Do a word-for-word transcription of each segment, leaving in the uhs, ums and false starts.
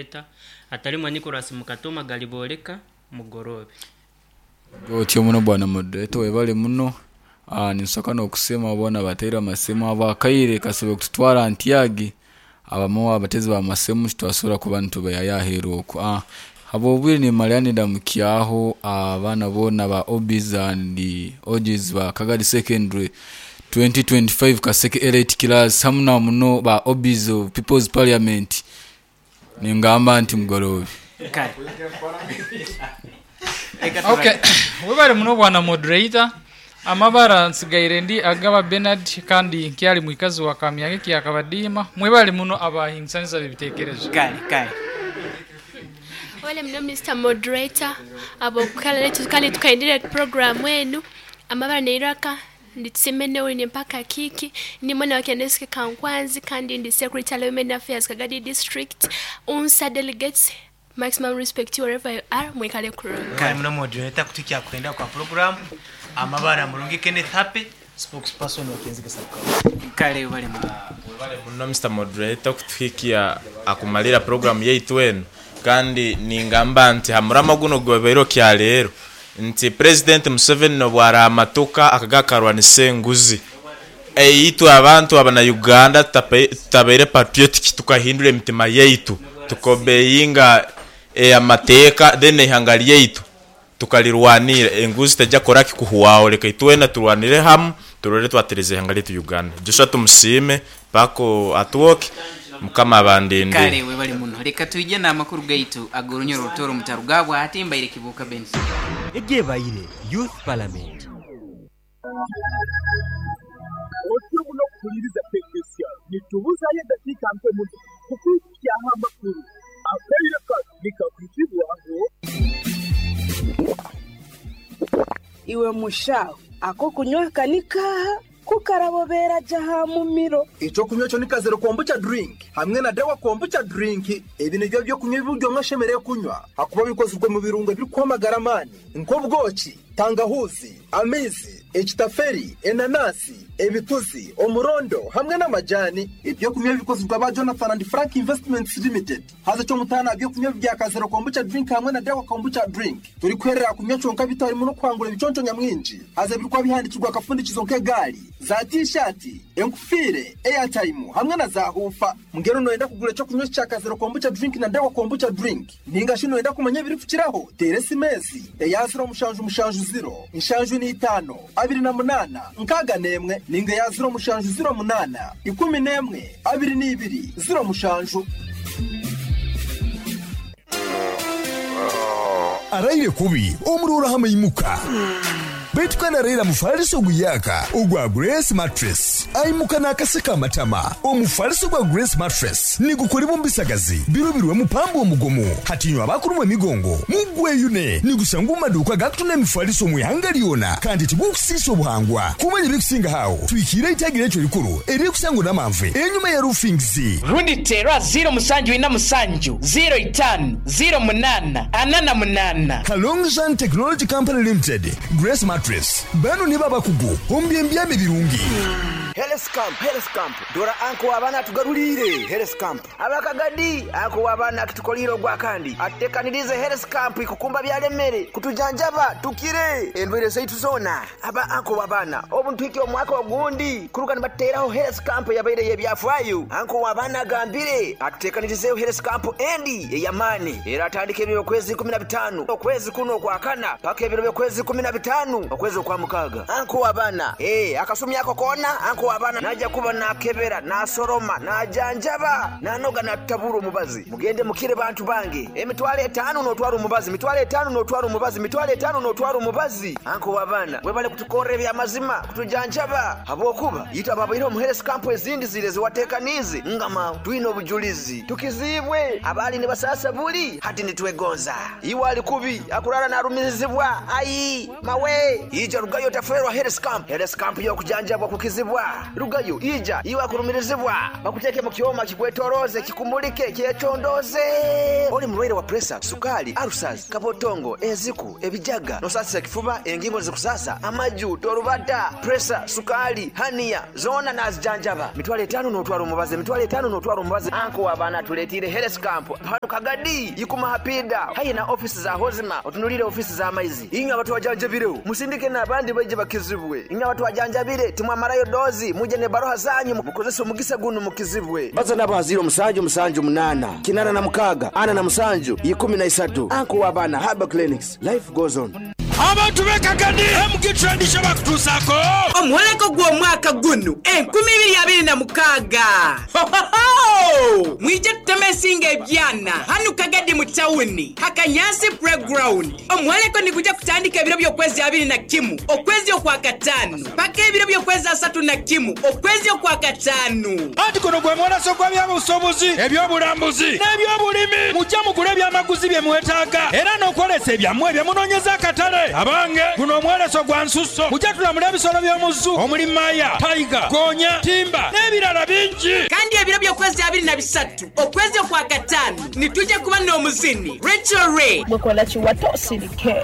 Better. Atalimwa Nicholas Mukatoma galiboleka mugorobe. Otyo muno bwana moderator, webale muno. Ah, ninsoka n'okusema bona bateera amasemu abakaire kasobe kututwara ntyagi abamu abatezi ba masemu twasobola kuba nitubayayo aheeru okwo. Ah, habwobwire nimmalira ndamukyaho abaana boona ba O Bs and O Gs ba Kagadi Secondary twenty twenty-five Kaseke Elite Class, hamu na muno ba O Bs of People's Parliament, ningamba nti mugorobe. Kale. Okay, webale muno bwana moderator. Amabara nsigaire ndi Agaba Benard, kandi nkyali mwikazi wa Kamyange kyakabadiima. Mwebale muno abahingisaniza bebitekerezo. Kale kale. Wale mno Mister Moderator, abo kukala letu kandi tukaendelea program wenu. Amabara neiraka nditsimene uli mpaka kiki ni mwana wa Kendeske Kankwanzi, kandi ndi Secretary Women Affairs Kagadi District. UNSA delegates, maximum respect wherever you are. Mwikale kurungi. Kale muno moderator kutukya kwenda kwa program. Amabara Mulungi Kenneth Happy, spokesperson wa Kenzige Sub-County. Kale, webale muno. Webale muno Mister Moderator kutuhikia akumalira program yaitu eno, kandi ningamba nti hamurama guno gwebaire kya leero nti President Museveni nobwara amatuka akagakarwanisa enguzi eitwe abantu abana Uganda tutabaire patriotic, tukahindura emitima yaitu, tukobeyinga e, amateeka, then ihanga lyaitu tukalirwanira, enguzi tejja koraki kuhuwaho. Leka itwena turwanire hamu, turore twatereza ihanga lyaitu Uganda. Joshua tumusiime pako atuwoke, Mukama abandinde. Kale, webale muno. Leka tuije n'amakuru gaitu ag'orunyoro rutoro mutarugabwa ate mbaire Kibuuka Benson. Egyebaire Youth Parliament. Otyo muno kuhuliriza Tekesya, nitubuzayo edakiika mpe muno kukwikyaho amakuru. Akaire kano nikakwikibwaho. Iwe mushaho, ako kunywa kanikaha kukarabobera jaha mumiro. Ekyokunywa ekyo ni Kazero Kombucha drink hamwe na Dawa Kombucha drink. Ebi nibyo byokunywa ebi buri omwe ashemereire kunywa, hakuba bikozirwe mu birungo ebirikuha amagara amaani nk'obwoki, tangahuzi, amaizi, ekitaferi, enanasi, ebituzi, omurondo hamwe n'amajani. Ebyokunywa bikozirwe aba Jonathan and Frank Investments Limited. Haza ekyomutaano aha byokunywa bya Kazero Kombucha drink hamwe na Dawa Kombucha drink, turikuherera kunywa kyonka bitarimu n'okuhangura ebiconco nyamwingi. Haza birikuba bihandikirwa akafundikizo nk'egaari, za tishati, enkufiire, airtime hamwe na za hufa. Mbwenu noyenda kugura ekyokunywa kya Kazero Kombucha drink na Dawa Kombucha drink, ninga shi noyenda kumanya ebirikukiraho, teera esimesi eya ziro mushanju mushanju ziro nshanju n'itaano abiri na munaana nkaaga n'emwe, ninga eya ziro mushanju ziro munaana ikumi n'emwe abiri n'ibiri ziro mushanju. Araire kubi omurora hamaimuka, baitu kandi araira mufaliso guyaka ogwa Grace Mattress, aimuka n'akaseka amatama. Omufaliso gwa Grace Mattress nigukolebwa mu bisagazi birobirwe mupambo omugomo, hatinywa abakulumwa emigongo mugweyune. Nigusanga mu maduuka gakutunda emifaliso mu ihanga lyona, kandi tigukusiisa obuhangwa. Kumanya ebikusinga hawo, twikire itagira ekyo likuru eririkusangwa n'amanve enyuma ya roofings. Rundi terwa ziro musanju ina musanju ziro itano ziro munana ana na munana. Kalongsan Technology Company Limited, Grace Mattress, bano nibo abakugu omu byembyami birungi. Health Camp, Health Camp. Dora anko w'abaana atugarulire Health Camp. Abakagadi anko w'abaana akitukolire ogwa kandi atekanirize Health Camp ikukumba byalemere kutujanjaba tukire endwire zaitu zona. Aba anko w'abaana obu ntwike omwaka ogundi kuruka nibateraho Health Camp yabaire yebyafaayo. Anko w'abaana agambire atutekanirizeho Health Camp endi ey'amaani, era atandika ebiro okwezi kumi na bitaano okwezi kuno okwakana paka ebiro by'okwezi kumi na bitaano okwezi okwa mukaaga. Anko w'abaana eh akasumi ako koona anko w'abaana najja kuba nakebera, nasoroma, najanjaba, nanoga, natabura omubazi. Mugende mukire bantu bange. Emitwalo etaano n'otwara omubazi, mitwalo etaano n'otwara omubazi, mitwalo etaano n'otwara omubazi. Anko w'abaana webale kutukorra ebyamazima, kutujanjaba, habwokuba yitwe ababaire omu health camp ezindi zire ziwatekaniize ngama twine obujulizi tukizibwe abaali nibasasa buli hati nitwegonza. Iwe ali kubi akurara narumirizibwa ayi mawe ija rugayo taferwa health camp. Health camp y'okujanjabwa kukizibwa. Rugayo ija iwe akurumirizibwa bakuteke mu kyoma kikwetoroze kikumulike kyetondoze. Oli mulwaire wa pressure, sukali, ulcers, kabotongo, eziku, ebijaga, nosasira kifuba, engingo zikusasa, amaju, torubata, pressure, sukali, hania, zona nazijanjaba. Mitwalo etano n'otwala omubazi, mitwalo etano n'otwala omubazi. Anko w'abaana tuleetire Health Camp hano Kagadi yikuma hapida hayi na ofisi za Hozima otunulire ofisi za maizi. Inywe abatwajanjabireho musindike n'abandi baije bakizibwe. Inywe abatwajanjabire timwamarayo dozi muje ne baroha zanyu mukozese omugisa guno mukizibwe. Baza nabo haziro musanju musanju munana kinana na mukaga ana na musanju ikumi na isatu. Anko w'abaana Herbal Clinics, life goes on. Abantu b'Ekagadi emugitradisha bakutuusako omwoleko gw'omwaka guno enkumi ibiri abiri na mukaaga. Hohoho! Mwije tuteme ensinga ebyana hano Kagadi mu tawuni Hakanyasi playground. Omwoleko nigujja kutandika ebiro by'okwezi abiri na kimu okwezi okwa kataano paka ebiro by'okwezi asatu na kimu okwezi okwa kataano. Anti guno gwe mwolaso gw'ebyobusuubuzi, ebyobulambuzi n'ebyobulimi. Mujje mugule ebyamaguzi bye mwetaaga era n'okwolesa ebyammwe bye munoonyeza akatale. Abange guno omwoleso gwa nsusso. Mujje tulamule ebisolo by'omuzu omuli maya, tiger, gonya, timba n'ebirala bingi. Kandi ebiro by'okwezi abiri na bisatu okwezi okwa kataano nitujja kuba n'omuzini Rachel Ray. Gwe kiwato osirike,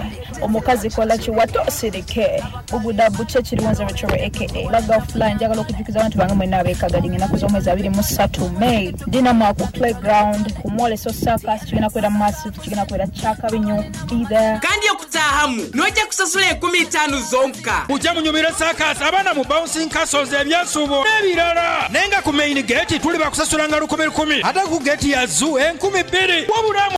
omukazi kola kiwato osirike. Buguda buche kiriwanza Rachel Ray aka Laga Fly. Njagala okujjukiza abantu bange mwenna ab'Ekagadi ng'ennaku z'omwezi abiri mu ssatu May ndina ku playground ku mwoleso circus kigenda kubeera massive, kigenda kubeera kyakabi nnyo. Be there. Kandi okutaahamu nojja kusasula enkumi ttaano zonka. Mujje munyumire circus, abaana mu bouncing castles, ebyensubo n'ebirala. Naye nga ku main gate tuli bakusasulanga lukumi lukumi, ate ku gate ya zoo enkumi bbiri. Wabula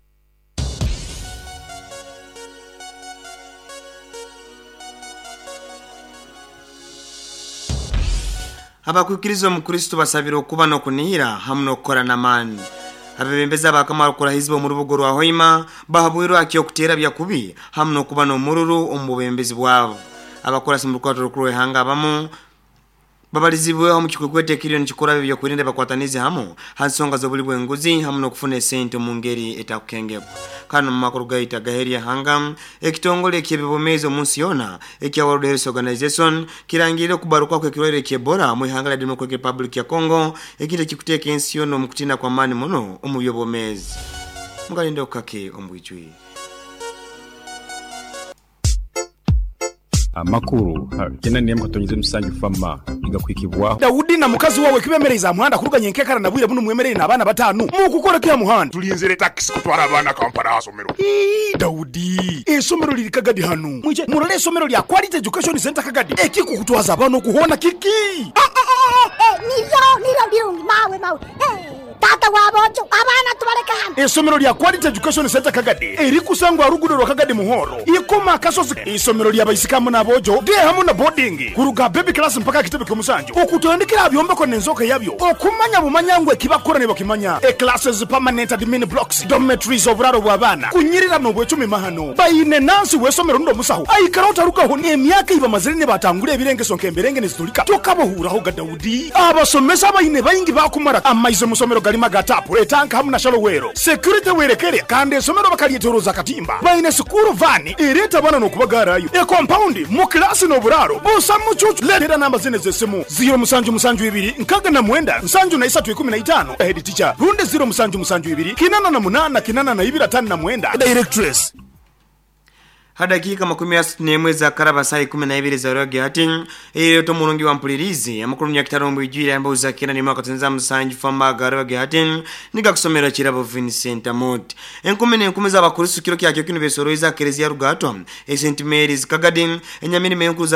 abakwikiriza omukristo basabira okuba n'okunihira hamu n'okukola n'amaani. Abebembezi abakamala kurahizibwa mu rubuga rwa Hoima bahabwirwa akyokuteera byakubi hamu n'okuba n'omururu omu bubembezi bwabo. Abakorasi mu rukwato rukuru rw'ihanga abamu babalizibweho mu kikwekwete ekiriyo nikikora ebyokurinda bakwatanize hamu ha nsonga z'obuli bw'enguzi hamu n'okufuna esente omu ngeri etakukengebwa. Kano mu makuru gaita gaheri hanga ekitongole eky'ebibomezi omu nsi yona ekya World Health Organization kirangirire okubaruka kw'ekirwaire ky'Ebola mu ihanga lya Democratic Republic ya Congo ekintu ekikuteeka ensi yona omu kutina kwa maani muno omu byobomezi. Mugalinde okukake omu bwijwire. Amakuru kena nemu katonyize musanju fama igakwikibwaho. Daudi na mukazi wawe kibemereza muhanda kuruganya enkekara na bwire buno mwemerere n'abaana batanu mukukora kya muhanda tulinzire taxi kutwara abaana Kampala asomero. Ii Daudi esomero liri Kagadi hano mwije murole esomero lya Quality Education Center Kagadi ekikukutwaza abaana okuhona kiki nivyo nivyo birungi mawe mawe tata wabojo abaana tubaleka hano. Esomero lya Quality Education Center Kagadi erikusangwa rugudo rwa Kagadi Muhoro ikoma kasozi. Isomero lya baisikamu n'abojo de hamu na boarding kuruga baby class mpaka kitebe ky'omusanju okutandikira byombeko n'enzoka yabyo okumanya bumanyangwe kibakora ne bakimanya e classes permanent admin blocks dormitories oburaro bw'abaana kunyirira n'obwecumi mahano bayine nansi w'esomero ndo musaho aikara otarukaho n'emyaka ibamazire ne batangula ebirengeso nk'emberenge nezitulika tokabohuraho ga Daudi. Abasomesa bayine bayingi bakumara amaize musomero galima gatapu etanka hamu na shalowero security werekere kandi esomero bakalietoroza katimba bayine sukuru vani ereta bana n'okubagarayo e compound mu klasi n'oburaro busa mucucu. Letera namba zine z'essimu zero musanju musanju ibiri nkaga na mwenda nsanju na isatu ikumi na itano head teacher runde zero musanju musanju ibiri kinana na munana kinana na ibiri atano na mwenda directress. Hadakika makumi asatu n'emwe za karaba saa ikumi na ibiri za roge hati iyo to mulungi wa mpulirizi amakuru nyakitaro mbwijwire amba uzakira ni mwaka tenza musanju famba garoge hati nigakusomera kirabo Vincent Amot enkumi n'enkumi z'abakristo kiro kyakyo kino besoroiza Eklezia Rugato e Saint Mary's Kagadi enyamirimo enkuru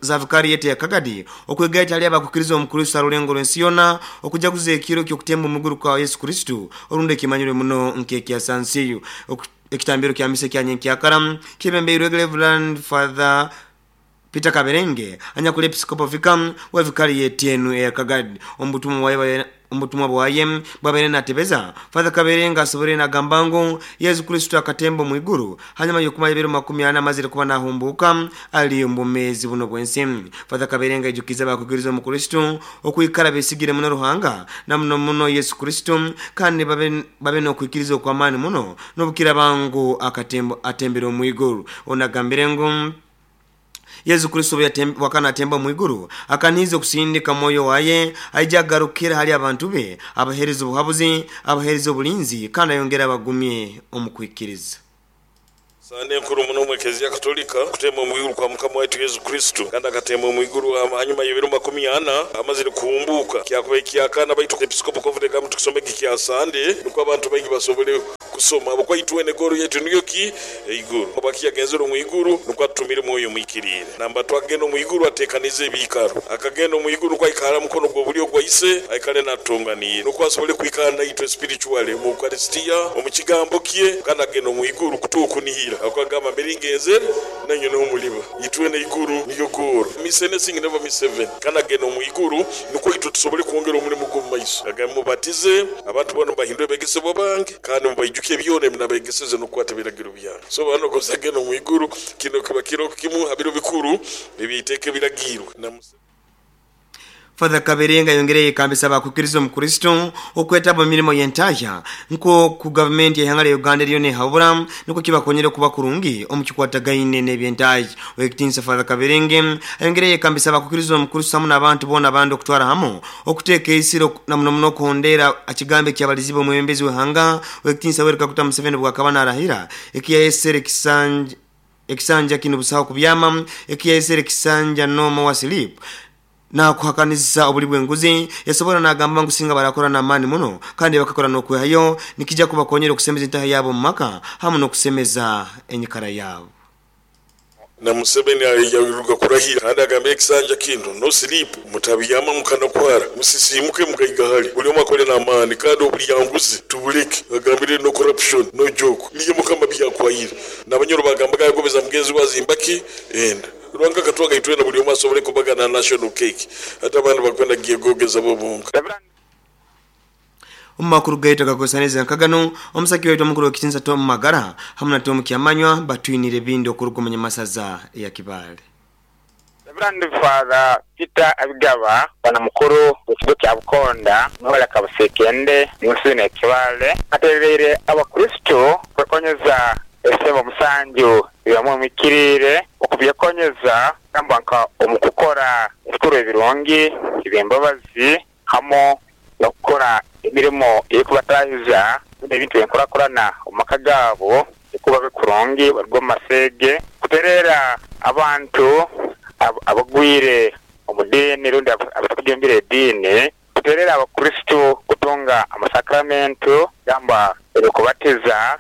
za vikariate ya Kagadi okwegaita ali abakukiriza omukristo arulengo lw'ensi okujaguza ekiro ky'okutemba omuguru kwa Yesu Kristo orunde kimanyirwe muno nkeki ya Sansiyu ekitambiro kya mise kya nyenkyakara kibembeirwe Reverend Father Peter Kaberenge anyakule Episcopal Vicam wa vikariate yenu ya Kagadi ombutumwa waye ombutumwa bwaye bwabere natebeza Father Kaberenge asobore na gambango Yesu Kristo akatembo mwiguru hanyuma yokuma ibiro makumi ana mazire kuba nahumbuka ali mbumezi buno bwensi. Father Kaberenge ijukiza bakugiriza mu Kristo okuikara besigire muno ruhanga na muno muno Yesu Kristo kandi babe babe no kwikiriza kwa amani muno nobukira bangu akatembo atembero mwiguru onagambire ngo Yesu Kristo wakana atemba mwiguru akaniza okusindika mwoyo waye aija agarukira hali abantu be abahereza obuhabuzi, abahereza obulinzi kandi ayongera abagumye omukwikiriza. Sande nkuru muno mu Eklezia Katolika kutema omwiguru kwa mukama waitu Yesu Kristo, kandi akatema omwiguru hanyuma y'ebiro makumi ana amazire kuhumbuka kyakuba ekyakana baitu Episcopal Conference gamu tukusoma kya Sande nuko abantu baingi basobole kusoma abakwaitu enegoro yetu niyo ki eiguru abakiya omwiguru nuko atumire mwoyo mwikirire namba twagenda omwiguru atekanize ebikaro akagenda omwiguru kwa ikara mukono gwo bulyo gwa ise aikale natunganiye nuko asobole kwikana naitwe spiritually mu Eucharistia omu kigambo kye kandi agenda omwiguru kutukunihira akagamba mbiringeze nanyo no muliba itwe ne iguru niyo goro misene singi never miss seven kana geno mu iguru nuko itwe tusobole kuongera omulimu gwo maiso agamba mubatize abantu bono bahindwe begese bobange kandi mubayijuke byone mnabegeseze no kwata biragiro byange so bano gosageno mu iguru kino kiba kiro kimu habiro bikuru ebiteke biragirwe na Father Kaberenga yongereye kambisa bakukirizo mu Kristo okwetaba mirimo yentaya nko ku government ya hangale Uganda riyo habura nuko kibakonyere kuba kurungi omukikwata gaine nebyentaya wekitinsa Father Kaberenge yongereye kambisa bakukirizo mu Kristo hamwe n'abantu bona abandi okutwara hamo okuteka isiro na muno muno kondera akigambe kyabalizibo mwembezi wehanga wekitinsa wereka kuta Museveni bwakabana arahira ekiya esere kisanja ekisanja kino busaho kubyama ekiya esere kisanja no mo wasilip na kuhakaniza obuli bwenguzi yasobora nagamba ngusinga barakora na amani muno kandi bakakora no kwehayo nikija kubakonyera okusemeza intaha yabo mu maka hamwe no kusemeza enyikara yabo. Na Museveni yaruga kurahira kandi agambe ekisanja kintu no sleep mutabiyama mukanakwara musisimuke mukayigahali buli omwe akole na amani kandi obuli yanguzi tubuleke agambire no corruption no joke niye mukama byakwayira nabanyoro bagamba gagobeza mugenzi wazimbaki enda Rwanga katwaga itwena buli omwe asobole kubagana national cake ate abantu bakwenda giyegogeza bobonga. Umakuru gaito gakosaneza nkagano omusaki wetu omukuru w'ekitinsa Tom Magara hamwe na Tom Kyamanywa batwinire bindi okuruga mu masaza ya Kibale. Reverend Father Peter Abigaba bana mukuru w'ikigo kya Bukonda n'abala kabusekende n'usine Kibale aterere abakristo kwekonyeza esebo musanju yamwe mikirire okubyekonyeza kambanka omukukora ebikuru ebirungi ebembabazi hamo nokukora emirimo ey'okubatahiza ebintu enkurakurana omu maka gaabo ekuba bikurungi barwo masege kuterera abantu abagwire omu diini rundi abatakujumbira ediini kuterera abakristo kutunga amasakramentu gamba ebikubatiza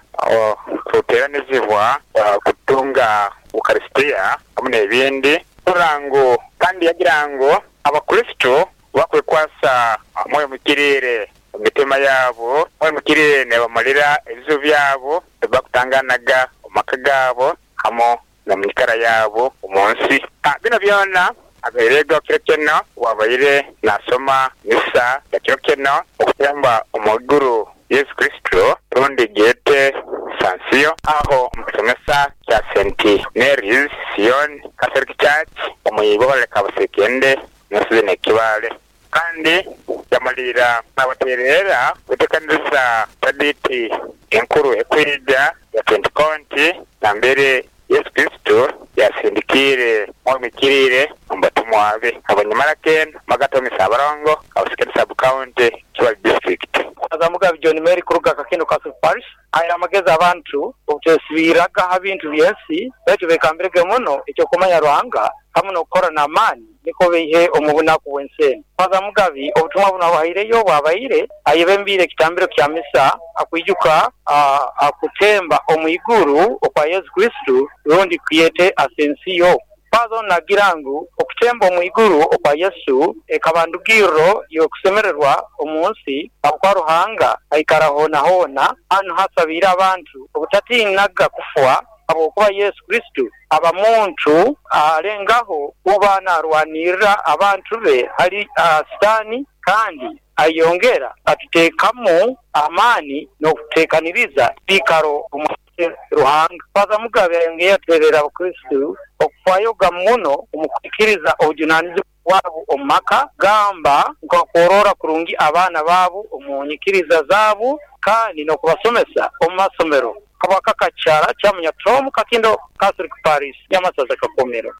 kuteranizibwa kutunga ukaristia hamwe n'ebindi kurango kandi yagira ngo abakristo bakwekwasa mwoyo mukirire emitima yabo mwoyo mukirire nebamalira ebizibu byabo ebakutanganaga omumaka gaabo hamo n'omunyikara yabo omunsi. Bino byona abairega kiro kino wabaire nasoma misa ya kiro kino okutemba omuguru Yesu Kristo rundi gete Sansiyo aho mukusomesa kya Saint Mary's Sion Catholic Church omwibole kabusekende n'osine Kibale kandi yamalira abaterera kutekaniriza sabiti enkuru ekwija ya Pentecost nambere Yesu Kristo yasindikire omwikirire ombatumwabe abanyamara ken magatomisa abarongo kabusekende sub county Kibale district. Azamuga John Mary kuruga kakino Catholic Parish ayira amagezi abantu obutesibiraga ha bintu byensi baitu bekambirege muno ekyo kumanya Ruhanga hamwe n'okukora n'amaani niko beihe omu bunaku bw'enseni. Father Mugabi obutumwa buno abahaireyo bwabaire ayebembiire ekitambiro kya misa akwijuka akutemba omu iguru okwa Yesu Kristo rundi kuyete asensiyo. Father nagira ngu okutemba omu iguru okwa Yesu ekabandugiro y'okusemererwa omu nsi okwa Ruhanga aikara hona hona hanu hasabira abantu obutatiinaga kufwa habwokuba Yesu Kristo aba muntu alengaho kuba narwanirira abantu be hali uh, sitani kandi ayongera atuteekamu amaani n'okuteekaniriza bikaro omu Ruhanga. Father Mugabe ayongera aterera abakristo okufayoga muno omu kuikiriza obujunanizibwa bwabo omu maka gamba nk'okworora kurungi abaana baabo omu nyikiriza zaabo kandi n'okubasomesa omu masomero. Kabaka Kyamunya Kakindo Catholic Parish Nyamasaza Kakumiro.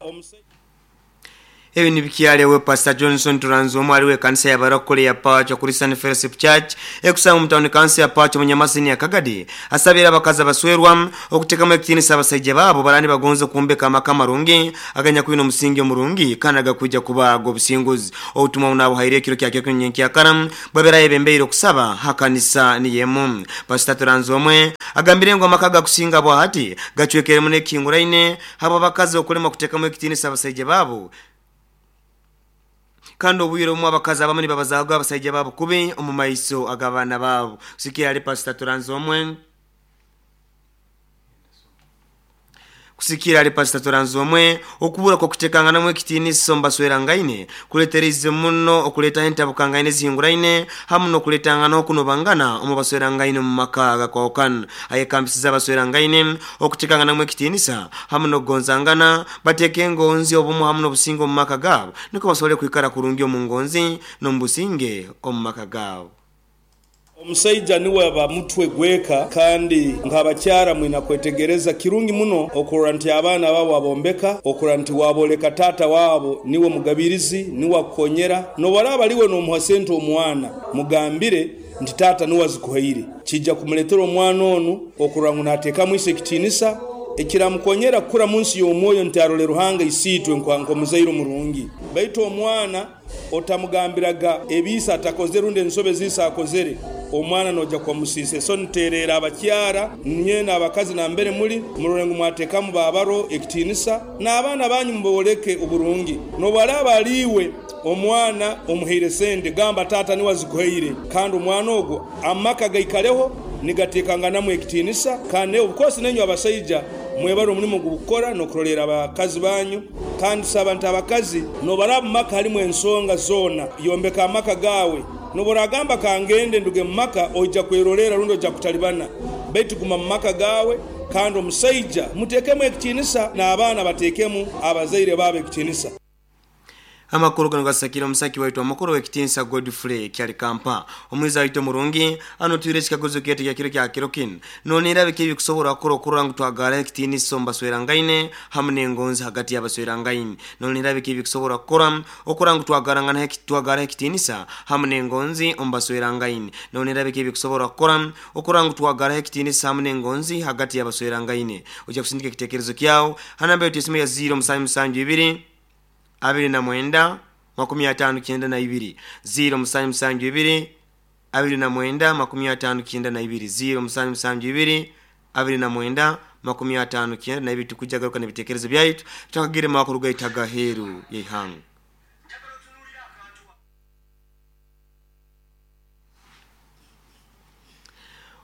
Ebi nibikyalewe Pastor Johnson Turanzo omwali we kanisa ya barokole ya Pacho Christian Fellowship Church ekusanga mu town council ya Pacho munyamasini ya Kagadi asabira abakazi abaswerwa okutekamu ekitinisa abasajja baabo barani bagonze kumbeka amaka marungi aganya kwino musingi omurungi kandi agakuja kubago obusinguzi obutumwa bunabo haire ekiro kyake kunyenki karam babera ebembeire okusaba hakanisa niyemu. Pastor Turanzo omwe agambire ngo amaka gakusinga bwa hati gacwekeremu n'ekinguraine habo abakazi okulema okutekamu ekitinisa abasajja baabo kandi obwire omwe abakazi abamu nibabazago abasajja babo kubi omu maiso ag'abaana baabo. Kusikira ali Pastor Turanzo omwe kusikira ali Pastor Turanzo omwe okubura kwa kutekanganamu ekitiinisa mbaswerangaine kuletereze muno okuleta entabukangaine zihinguraine hamu n'okuletangana okunobangana omu baswerangaine mu maka agakwawukana. Ayekambisiza abaswerangaine okutekanganamu ekitiinisa hamu n'okugonzangana bateeke engonzi obumu hamu n'obusinge omu maka gaabo niko basobole kwikara kurungi omu ngonzi n'omu businge omu maka gaabo. Omusaija niwe aba mutwe gweka kandi nk'abakyara mwina kwetegereza kirungi muno okurora nti abaana babo abombeka okurora nti waboleka tata wabo niwe mugabirizi niwe akukonyera nobaraba aliwe n'omuha sente omwana mugambire nti tata niwe azikuhaire kijja kumuletera omwana onu okurora ngu nateekamu ise ekitinisa ekiramukonyera kukura munsi y'omwoyo nti arole Ruhanga isiitwe nk'omuzaire omurungi. Baitu omwana otamugambiraga ebiisa atakozere rundi ensobe ziisa akozere omwana noja kwa musise. So nterera abakyara nyena abakazi nambere muli murore ngu mwatekamu babaro ekitinisa n'abaana banyu muboleke oburungi. Nobaraba aliwe omwana omuheire sente gamba tata niwe azikuheire kandi omwana ogwo amaka gaikaleho nigatekanganamu ekitinisa. Kandi obukosi nenyu abasaija mwebare omulimu gukora n'okurolera abakazi banyu kandi saba nti abakazi nobaraba maka halimu ensonga zona yombeka amaka gawe noboragamba kangende nduge mumaka oija kwerolera rundi oija kutalibana baitu guma mumaka gawe. Kandi omusaija mutekemu ekitinisa n'abaana batekemu abazaire baabo ekitinisa. Amakuru gano gasakira omusaki waitu amakuru w'ekitinisa Godfrey kyali Kampa omwiza waitu murungi ano tuyire ekikaguzo kyetu kya kiro kya kiro kino nonera biki ebikusobola kukora okurora ngu twagara ekitinisa omu baswerangaine hamu n'engonzi hagati y'abaswerangaine. Nonera biki ebikusobola kukora okurora ngu twagarangana twagara ekitinisa hamu n'engonzi omu baswerangaine. Nonera biki ebikusobola kukora okurora ngu twagara ekitinisa hamu n'engonzi hagati y'abaswerangaine. Ojja kusindika ekitekerezo kyawo hanamba yetu esimu ya zero musanju musanju ibiri abiri na mwenda makumi atano kyenda na ibiri zero musanju musanju ibiri abiri na mwenda makumi atano kyenda na ibiri zero musanju musanju ibiri abiri na mwenda makumi atano kyenda na ibiri. Tukujja garuka n'ebitekerezo byaitu tukagire makuru gaitaga heru yeihanga.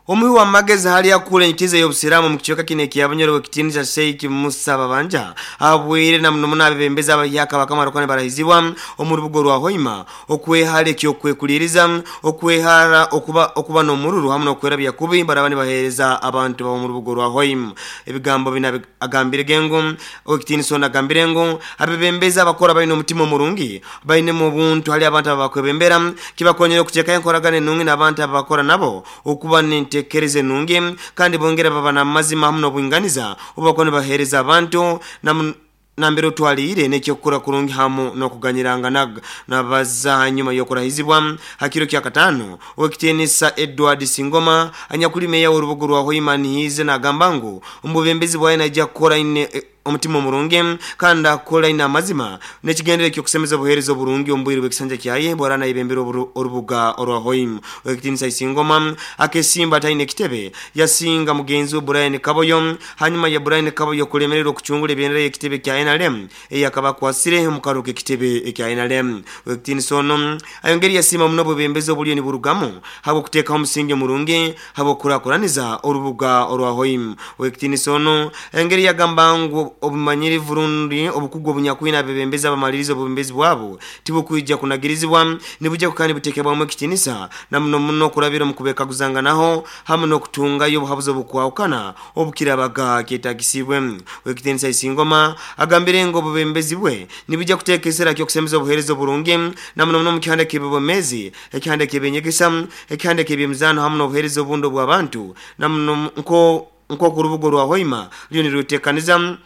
Omuwi wa magezi hali akula enkiza y'obusiraamu mu kichweka kino ekyabunyoro ekitiinisa Sheikh Musa Babanja abwire na muno muno abebembezi abayaka bakamarukane barahizibwa omu rubuga rwa Hoima okwehara ekyokwekuliriza okwehara okuba okuba n'omururu hamwe n'okwerabya kubi barabani bahereza abantu ba mu rubuga rwa Hoima. Ebigambo bina agambire gengo ekitiinisa ona agambire ngo abebembezi abakora balina omutima omurungi baine mu buntu hali abantu abakwebembera kibakonyera okuteeka enkoragana ennungi n'abantu abakora nabo okuba tekereze nungi kandi bongera baba na mazima hamu n'obwinganiza obakone bahereza abantu na nambere otwalire n'ekyokukora kurungi hamu n'okuganyirangana. Nabaza hanyuma y'okurahizibwa hakiro kya katano owekitiinisa Edward Singoma anyakuli meya w'orubuga rwa Hoima nihize nagamba ngu omubembezi bwaye najja kukora ine omutima omurungi kandi akola ina amazima n'ekigendere ky'okusemeza obuheereza oburungi omubwire bw'ekisanja kyaye bwarana ibembera orubuga orwa Hoima. Owekitiinisa Isingoma akesimba ataine ekitebe yasinga mugenzi we Brian Kaboyo hanyuma ya Brian Kaboyo kulemererwa okucungula ebendera y'ekitebe kya N R M eyakaba akwasire omu karuka ekitebe ekya N R M. Owekitiinisa ono ayongeri yasiima muno obubembezi obuliyo niburugamu habw'okuteekaho omusingi omurungi habw'okukurakuraniza orubuga orwa Hoima. Owekitiinisa ono ayongeri yagamba ngu obumanyirivu rundi obukugu obunyakwina abebembezi abamaliriza obubembezi bwabo tibukwija kunagirizibwa nibujja kandi butekebwamu ekitinisa na muno muno okurabira omu kubekaguzanganaho hamwe n'okutungayo obuhabuzi obukwawukana obukirabaga kyetagisibwe. Owekitiinisa Isingoma agambire ngu obubembezi bwe nibujja kuteekesera ky'okusemeza obuheereza oburungi na muno muno mu kihanda ky'ebibomezi ekihanda ky'eby'enyegesa ekihanda ky'eby'emizaano hamwe n'obuheereza obundi obw'abantu na muno nko nkokurubugo rwa Hoima ryo nirwetekaniza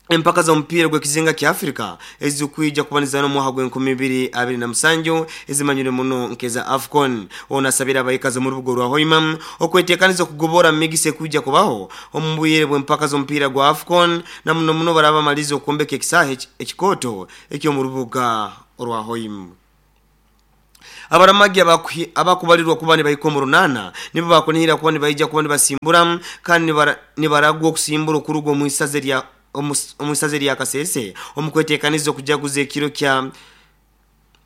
empaka za mpira gwe kizinga kya Afrika ezikwija kubanizana mu mwaka gw'enkumi ibiri abiri na musanju ezimanyire muno nkeza AFCON. Onasabira abayikazi mu rubugo rwa Hoima okwetekaniza kugobora migise kuja kubaho omubuyere bw'empaka za mpira gwa AFCON na muno muno baraba malizo okumbeka ekisahe ekikoto ekyo mu rubuga rwa Hoima. Abaramagi abakubalirwa kuba ni bayikomo runana nibo bakunihira kuba ni bayija kuba ni basimbura kandi nibaragwa okusimbura okuruga mu isaze lya omusaze lya Kasese omukwetekanizo kujaguza ekiro kya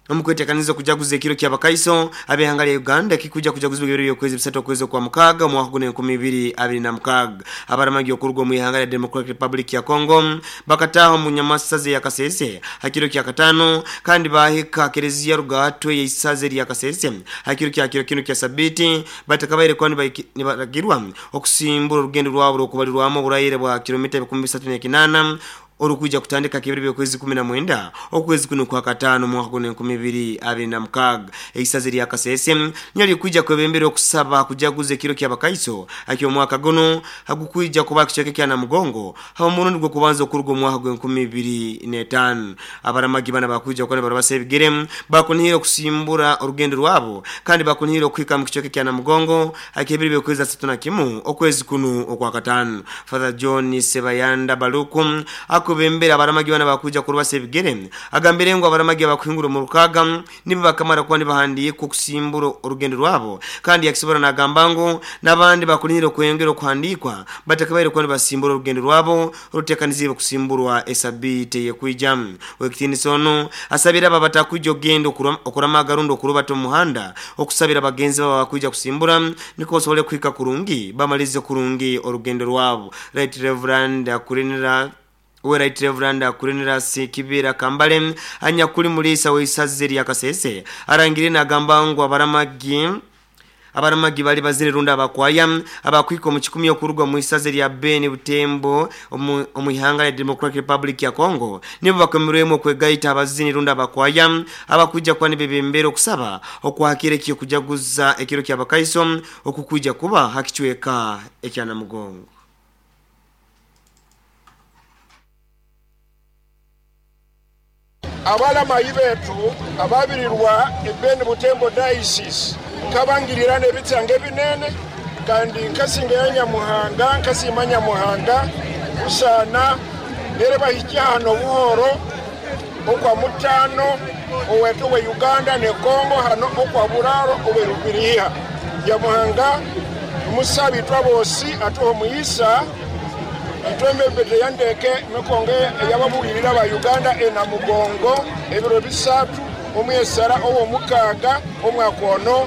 omukwetekanizo kujaguza ekiro kya bakaiso abehanga lya Uganda kikuja kujaguzwa ebiro by'okwezi bisatu okwezi kwa mukaga mwaka guno enkumi ibiri abiri na mukaga. Abaramagi okuruga mu ihanga lya Democratic Republic ya Congo bakataho mu nyamasaze ya Kasese hakiro kya katano kandi bahika kerezia rugatwe ya isaze lya Kasese hakiro kya kiro kino kya sabiti batakabaire kwani nibaragirwa okusimbura orugendo rwabo okubalirwamo oburayire bwa kilomita ebikumi bisatu na kinana orukuja kutandika kibiri by'okwezi kumi na mwenda okwezi kuno kwa katano mwaka guno enkumi ibiri abiri na mukaga. Eisaze lya Kasese nyali kuja kwebembera okusaba kujaguza ekiro kya bakaiso akyo mwaka guno hagukuija kuba kicheke kya na mugongo haba murundi gwo kubanza okuruga omwaka gw'enkumi ibiri na tano. Abaramagi bana bakuja kwani barabasa ebigere bakunihira okusimbura orugendo rwabo kandi bakunihira okwika mu kicheke kya na mugongo akibiri by'okwezi asatu na kimu okwezi kuno okwa katano. Father John Sebayanda Baluku akubembera abaramagi bana bakuja kurubasa ebigere agambire ngo abaramagi abakuhingura mu rukaga nibo bakamara kuba nibahandiye ku kusimbura orugendo rwabo kandi yakisobora nagamba ngo nabandi bakunihira kwengera okuhandikwa batakabaire kuba nibasimbura orugendo rwabo rutekanizibe kusimburwa esabite yekwijam. Wekitini sono asabira aba batakuja ogendo okuramaga rundo kurubata omuhanda okusabira bagenzi baba bakuja kusimbura niko basobole kuhika kurungi bamalize kurungi orugendo rwabo. Right Reverend Akurinira we Right Reverend Akurinira Sikibira Kambale anyakuli mulisa w'isaze lya Kasese arangire nagamba ngo abaramagi abaramagi bali bazire runda abakwaya abakwiko mu kikumi okuruga mu isaze lya Beni Butembo omu ihanga lya Democratic Republic ya Congo nibo bakomerwemo kwegaita abazini runda abakwaya abakuja kwa nibebembera okusaba okwakire kiyo kujaguza ekiro kya bakaiso okukuja kuba hakichweka ekyana mugongo. Abalamayi betu ababirirwa ebeni Butembo Diocese nkabangirira ebitsange binene kandi nkasinga ya Nyamuhanga nkasima Nyamuhanga usana nere bahikia hano buhoro okwa mutano owetu we Uganda ne Congo hano okwa buraro owe Rubiriha. Nyamuhanga musabi twabosi atuho muyisa itwembe mbete yandeke mikonge yababulirira ba Uganda ena mugongo ebiro bisatu omwesara owo mukaga omwakono.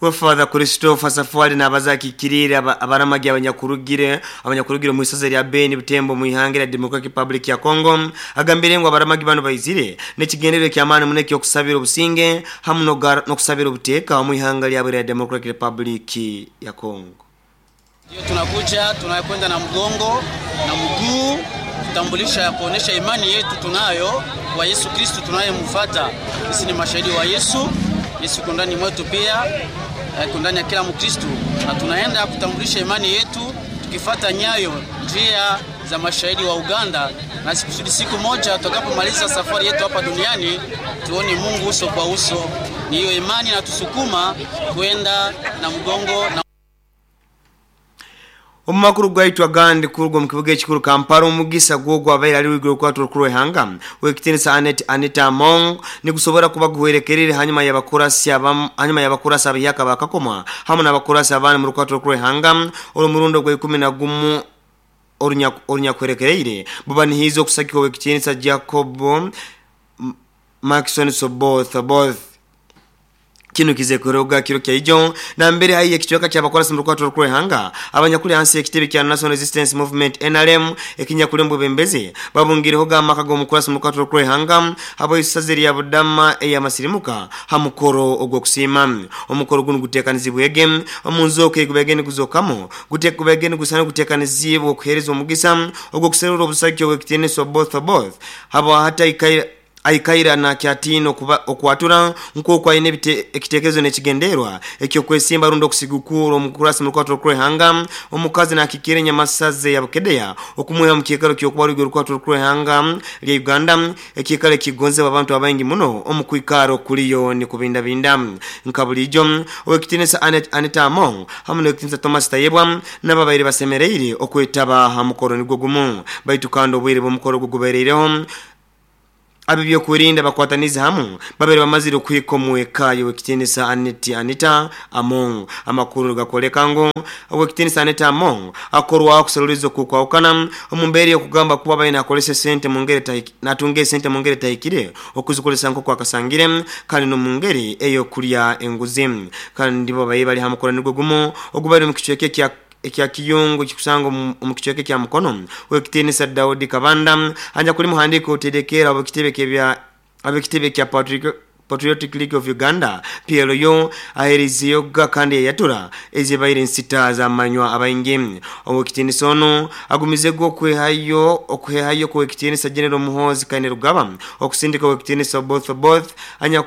We Father Christopher Safari na abazaki kirira abaramagi abanyakurugire abanyakurugire mu isaze lya Beni Butembo mu ihanga lya Democratic Republic ya Congo agambire ngo abaramagi bano bayizire nekigendere kya mani muneke okusabira obusinge hamu no kusabira obuteka mu ihanga lya Democratic Republic ya Congo. Ndio tunakuja tunakwenda na mgongo na mguu kutambulisha kuonesha imani yetu tunayo kwa Yesu Kristo tunayemfuata. Sisi ni mashahidi wa Yesu. Yesu yuko ndani mwetu pia, yuko ndani ya kila Mkristo, na tunaenda kutambulisha imani yetu tukifuata nyayo njia za mashahidi wa Uganda, na sikusudi siku moja tutakapomaliza safari yetu hapa duniani tuone Mungu uso kwa uso. Ni hiyo imani na tusukuma kwenda na mgongo na Omumakuru gwaitwa gandi kurugo mu kibuga ekikuru Kampala omugisa gwogwa abaire ali wigiro kwa turukuru ehanga wekitinisa Anet Anita Among nigusobora kuba guherekerere hanyuma y'abakurasi abam hanyuma y'abakurasi abiyaka bakakoma hamwe n'abakurasi abana mu rukwa turukuru ehanga oro murundo gwa ikumi na gumu orunya orunya kwerekereire buba nihizo kusakiko wekitinisa Jacob Maxon Soboth both kino kizekoroga kiro kya ijo na mbere hayi ekichweka kya bakorasi mu rukwato rukuru hanga abanyakuri hansi ekitebe kya National Resistance Movement N R M ekinyakulembo bembeze babungireho gamaka go mukurasi mu rukwato rukuru hanga abo isazeri ya budama eya masirimuka hamukoro ogwo kusima omukoro guno gutekanizibwege omunzoke egubegeni kuzokamo gutekubegeni gusana gutekanizibwe okuhereza omugisa ogwo kuserura obusakyo wekitene so both both habo hata ikai aikaira na kyatino okwatura nk'oku aine ekitekerezo n'ekigenderwa ekyokwesimba rundo okusigukura omukurasi mu rukwatwa omukazi nakikire nyamasaze ya Bukedeya okumuha mu kiikaro ky'okuba rugo rukwatwa rukwehanga lya Uganda ekiikaro ekigonzebwa abantu abaingi muno omukwikaro kuliyo ni kubindabinda nka bulijo owekitinisa Anita Among hamwe n'owekitinisa Thomas Tayebwa n'ababaire basemereire okwetaba ha mukoro nigwo gumu baitu kandi obwire bw'omukoro gugubereireho ab'ebyokwerinda bakwataniza hamu babere bamazire okuhika omweka y'owekitinisa Anita Anita Among. Amakuru gakoleka ngu owekitinisa Anita Among akorwaho okuseruliza okukwawukana omu mbeera y'okugamba kuba abaine akolesa sente mu ngeri natunga esente mu ngeri etahikire okuzikolesa nk'oku akasangire kandi n'omu ngeri ey'okulya enguzi. Kandi bo baye bali ha mukoro nigwo gumu ogubaire omu kicweka ekya ekya kiyungu kikusanga omu kicweka kya Mukono owekitinisa Daudi Kabanda anja kuli muhandiko oterekera ab'ekitebe kebya ab'ekitebe kya Patrick Patriotic League of Uganda P L U aheriziyoga kandi yayatura ezibaire ensita zamanywa abaingi. Owekitinisa ono agumizego okwehayo okwehayo kuwekitinisa General Muhoozi Kainerugaba okusindika owekitinisa Oboth Oboth anya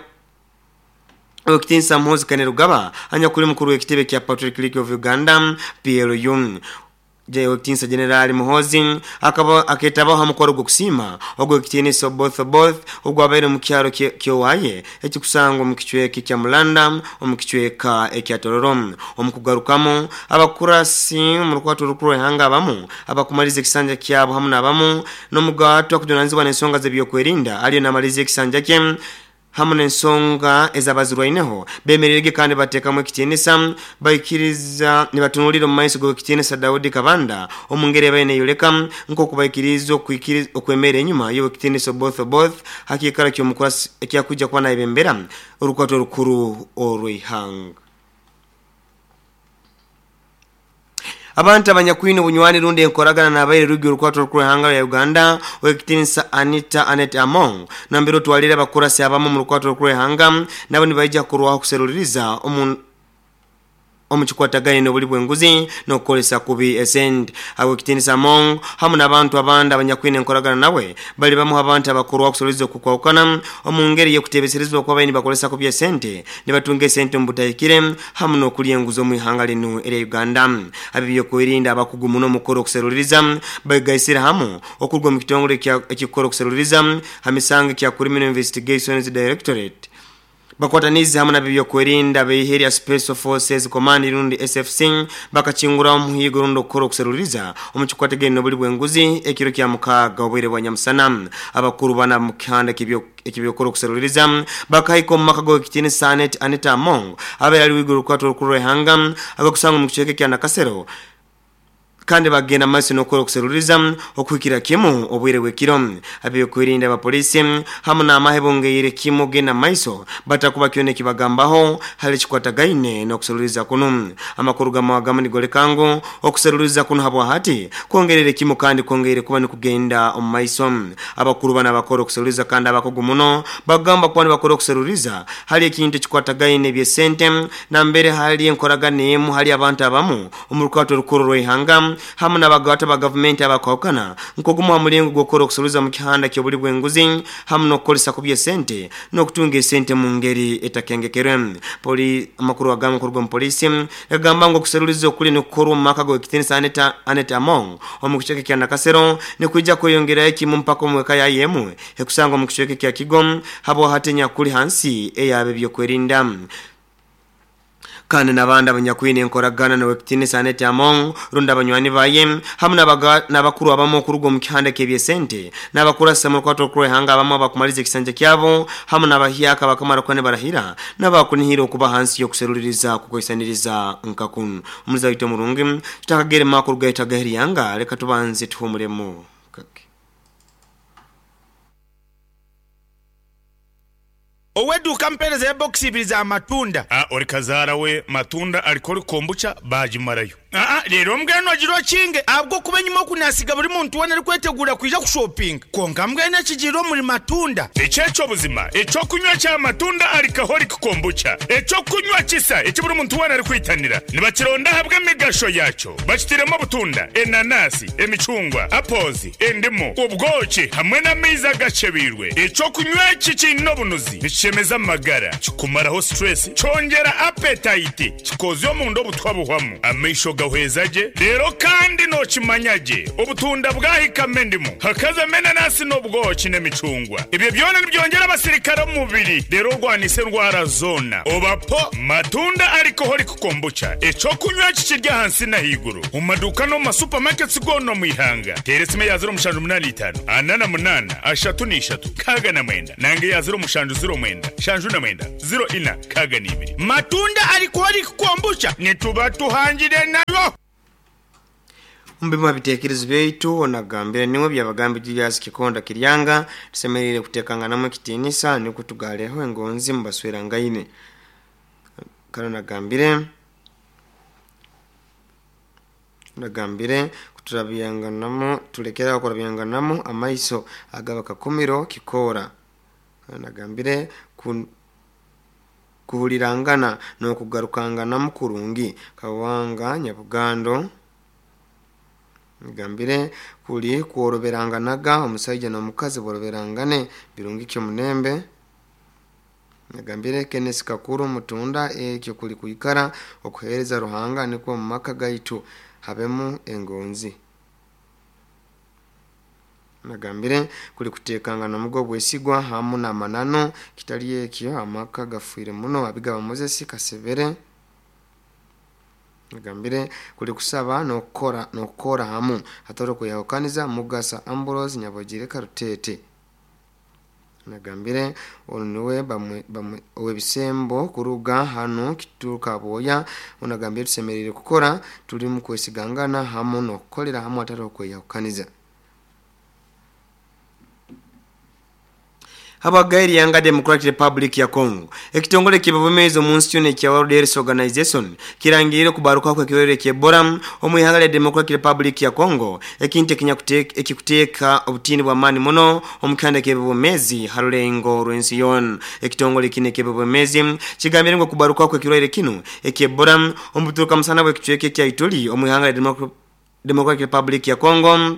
owekitinisa Muhoozi Kainerugaba anyakuli mukuru w'ekitebe kya Patriotic League of Uganda P L U. Owekitinisa General Muhoozi akaba aketabaho ha mukoro gw'okusiima ogw'ekitinisa Oboth Oboth ogwabaire mu kyaro kyowaye ekikusangwa omu kicweka kya Mulanda omu kicweka ekya Tororo. Omu kugarukamu abakurasi mu rukwato rukuru ehanga abamu abakumaliza ekisanja kyabo hamu n'abamu n'omugato akujunanizibwa n'ensonga z'ebyokwerinda aliyo namaliza ekisanja kye hamu n'ensonga ezabazirwaineho bemererege kandi batekamu ekitinisa baikiriza nibatunulira omu maiso g'ekitinisa Daudi Kabanda omu ngeri ebaine yoleka nk'oku baikiriza okwemera enyuma y'ekitinisa Oboth Oboth hakiikaro ky'omukurasi ekyakuja kuba naibembera orukwato rukuru orw'eihanga. Abantu abanyakwine obunywani rundi enkoragana n'abaire rugi orukwato rukuru ya Uganda owekitinisa Anita Anet Among nambere otwalire abakurasi abamu mu rukwato rukuru ehanga nabo nibaija kurwaho okuseruliriza omu omukikwatagaine n'obuli bw'enguzi n'okukolesa kubi esente. Awekitinisa Among hamu n'abantu abandi abanyakwine enkoragana nawe bali bamu abantu abakurwaho okuseruliriza okukwawukana omu ngeri y'okutebeserezibwa kuba baine bakolesa kubi esente nibatunga esente omu butahikire hamu n'okulya enguzi omu ihanga linu erya Uganda. Ab'ebyokwerinda abakugu muno omukoro okuseruliriza bagaisire hamu okuruga omu kitongole ekikukora okuseruliriza ha misango ekya Criminal Investigations Directorate bakwataniza hamwe n'ab'ebyokwerinda b'eiheri Special Forces Command rundi S F C bakachingura omuhigo rundi okukora okuseruliriza omu kikwatagaine n'obuli bw'enguzi ekiro kya mukaaga obwire bwa nyamusana. Abakuru bana mu kihanda ekibyokora okuseruliriza bakahika omu maka g'owekitinisa Anita Among abaire ali wiguru rukwato rukuru rw'eihanga agakusanga omu kicweka kya Nakasero kandi bagenda maiso n'okukora okuseruliriza okuhikira kimu obwire bw'ekiro. Ab'ebyokwerinda abapolisi hamu n'amahe bongeire kimu genda maiso batakuba kyona ekibagambaho hali ekikwatagaine n'okuseruliriza kuno. Amakuru gamwagamu nigoleka ngu okuseruliriza kuno habwahati kwongerere kimu kandi kwongeire kuba nikugenda omu maiso. Abakuru bana abakora okuseruliriza kandi abakugu muno bagamba kuba nibakora okuseruliriza hali ekintu ekikwatagaine eby'esente nambere hali enkoragana emu hali abantu abamu omu rukwato rukuru rw'eihanga hamu n'abagato ba gavumenti abakwawukana nk'ogumu ha mulingo gw'okukora okuseruliza mu kihanda ky'obuli bw'enguzi hamu n'okukolesa kubi esente n'okutunga esente mu ngeri etakengekerwe. Poli amakuru agamba kuruga omu polisi agamba ngu okuseruliza okuli nikukorwa omu maka g'owekitinisa Anita Anita Among omu kicweka kya Nakasero nikwija kweyongerayo kimu mpaka omu eka yaye ekusangwa omu kicweka kya Kigo habwahati nyakuli hansi ey'ab'ebyokwerinda. Kandi n'abandi abanyakwine enkoragana n'owekitinisa Anita Among rundi abanywani baye hamu n'abakuru abamu okuruga omu kihanda ky'ebyesente n'abakurasa mu rukwato rukuru ehanga abamu abakumaliza ekisanja kyabo hamu n'abahyaka abakamara kuba nibarahira n'abakunihira okuba hansi y'okuseruliriza kukoisaniriza nka kunu. Omuliza waitu omurungi tutakagere makuru gaitu agaheriyanga leka tubanze tuhumuremu. Oweduka mpereza ya box ibiri za matunda. Ah, ori kazara we matunda alikori kombucha bajimarayo. Aa rero mbwenu ogira okinge ahabw'okuba enyuma okunasiga buri muntu weena arikwetegura kwija kushopinga konka mbwenu ekigiire omuri matunda. Ekyekyo buzima ekyokunywa kya matunda alcoholic kombucha ekyokunywa kisa eki buri muntu weena arikwitanira nibakironda ahabw'emigasho yakyo bakitiremu obutunda, enanasi, emicungwa, apples, endimu, obwoki hamwe n'amaizi agacebiirwe. Ekyokunywa eki kiine obunuzi nikishemeza amagara, kikumaraho stress, kyongera appetite, kikozya omunda obutwa buhwamu, amaisho gahweza gye. Rero kandi nokimanya gye obutunda bwahikamo endimu hakazamo enanasi n'obwoki n'emicungwa, ebyo byona nibyongera abasirikare omu mubiri rero orwanisa endwara zoona. Obapo matunda alcoholic kombucha ekyokunywa kikirya ahansi n'ahaiguru omu maduuka n'omu masupamaketi goona omu ihanga. Teera esimu eya ziro mushanju munaana itaano ana na munaana ashatu n'ishatu kaaga na mwenda nange eya ziro mushanju ziro mwenda shanju na mwenda ziro ina kaaga n'ibiri. Matunda alcoholic kombucha nituba tuhangire nayo. Mbima bitekerezo byaitu onagambira niwe byabagambi Julius Kikonda Kiryanga tusemerere kutekanganamu ekitiinisa niko tugaleho engonzi mubaswerangaine. Kano nagambire nagambire kuturabyanganamu tulekera okurabyanganamu amaiso agaba kakumiro kikora. Nagambire kun kuhulirangana n'okugarukangana mukurungi kawanga Nyabugando. Gambire kuli kuoroberanganaga omusajja n'omukazi boroberangane birungi kyo munembe. Gambire Kenneth Kakuru mutunda ekyo kuli kuikara okuhereza Ruhanga niko mu maka gaitu habemu engonzi. Nagambire kuli kutekangana mugo bwesigwa hamu na manano kitali ekyo amaka gafuire muno abigaba Moses Kasebere. Gambire kuli kusaba nokora nokora hamu hatoro kuyahokaniza Mugasa Ambrose Nyabogire Karutete. Nagambire onuwe bamwe bamwe owebisembo kuruga hano kituruka boya. Unagambire tusemerere kukora tuli mu kwesigangana hamu nokukolera hamu ataro kuyahokaniza. Habagairi yanga Democratic Republic ya Congo. Ekitongole kibabomezi mu nsi yone kya World Health Organization kirangirire kubaruka kwa kirere kye Ebola omu ihanga lya Democratic Republic ya Congo ekintu ekinyakuteka ekikuteka obutini bwa mani muno omukanda kebabomezi harulengo rwensi yon. Ekitongole kine kebabomezi kigambire ngo kubaruka kwa kirere kino ekye Ebola omuturuka musana bwe kichweke kya Ituri omu ihanga lya Democratic Republic ya Congo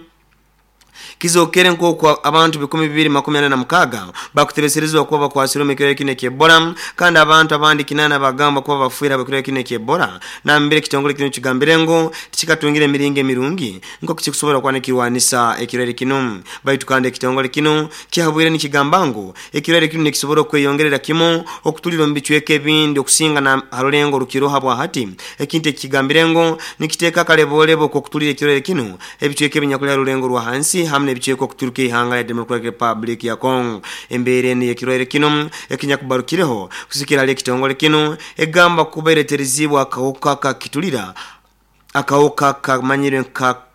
kizokere nko kwa abantu bikumi bibiri makumi ane na mukaga bakutebeserezwa kuba bakwasira omukirere kino eky'Ebola kandi abantu abandi kinana bagamba kuba bafuira bakirere kino eky'Ebola. Na mbere kitongole kino kigambire ngo tikikatungire emiringo emirungi nko kikusobola kwanikirwanisa ekirere kino. Baitu kandi ekitongole kino kihabwire nikigamba ngo ekirere kino nikisobola okweyongerera kimo okutulira omu bicweka ebindi okusinga na harulengo rukiroha bwa hati. Ekintu ekigambire ngo nikiteeka akalebolebo okutulira ekirere kino ebicweka ebinyakulya harulengo rwa hansi hamwe ebicheko okuturuka ihanga ya Democratic Republic ya Congo. Embere ni ekirwaire kino ekinyakubarukireho kusikira ali ekitongole kino egamba kubereterezibwa akawuka kakitulira akawuka kamanyire nka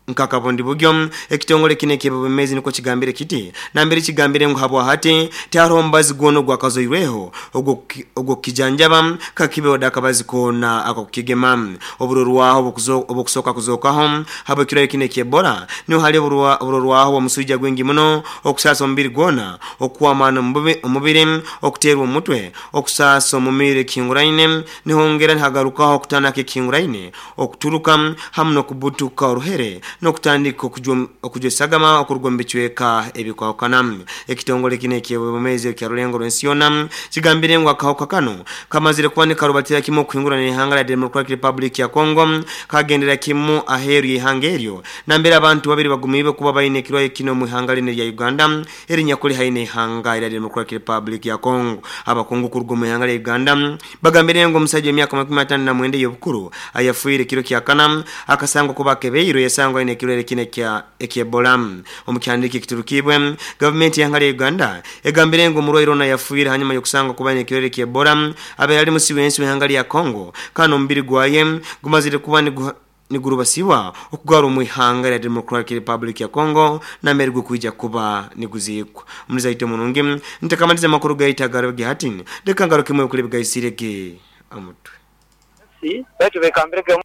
nkakabondi bugyo. Ekitongole kine kebabemezi niko kigambire kiti nambere kigambire ngo habwa hati tihariho mbazi gono gwakazoirweho ogwo ogwo kijanjaba kakibe odakabazi kona akokigema oburorwaho obukusoka kuzokaho habo kirare kine ky'Ebola niho hali oburorwaho omusujja gwengi muno okusasa omubiri gwona okwamana omubiri okuterwa omutwe okusasa omumire kinguraine nihongera nihagarukaho okutanaka ekinguraine okuturuka hamu n'okubutuka oruhere nokutandika okujwesagama okurugwa mu bicweka ebikwawukana. Ekitongole kine eky'obumezi kya Rulengo rw'ensi kigambire ngo akawuka kano kamazire kubanika rubatira kimu okuhingurana n'ihanga lya Democratic Republic ya Congo kagendera kimu aheru y'ihanga eryo nambere abantu babiri bagumiwe kuba baine ekirwaye kino mu ihanga line lya Uganda erinyakuli haine ihanga lya Democratic Republic ya Congo. Abakungu kuruga mu ihanga lya Uganda bagambire ngo omusajja emyaka makumi atano na mwenda y'obukuru ayafuire kiro kya kana akasangwa kuba kebeiro yasangwa ine kirere kine kya eky'Ebola. Omukyandiki kiturukibwe government ya Uganda egambire ngo omurwaire ono yafuire hanyuma yokusanga kuba ine kirere ky'Ebola abe ali musi wensi w'ihanga lya Congo kandi omubiri gwaye gumazire kuba nigurubasiwa okugarwa mu ihanga lya Democratic Republic ya Congo namerwe kuija kuba niguzikwa. Omulizaite munungi ntakamaliza makuru gaita garoge hatini leka ngaruke mwe kuli bigaisirege amutwe si baitu bekambirege.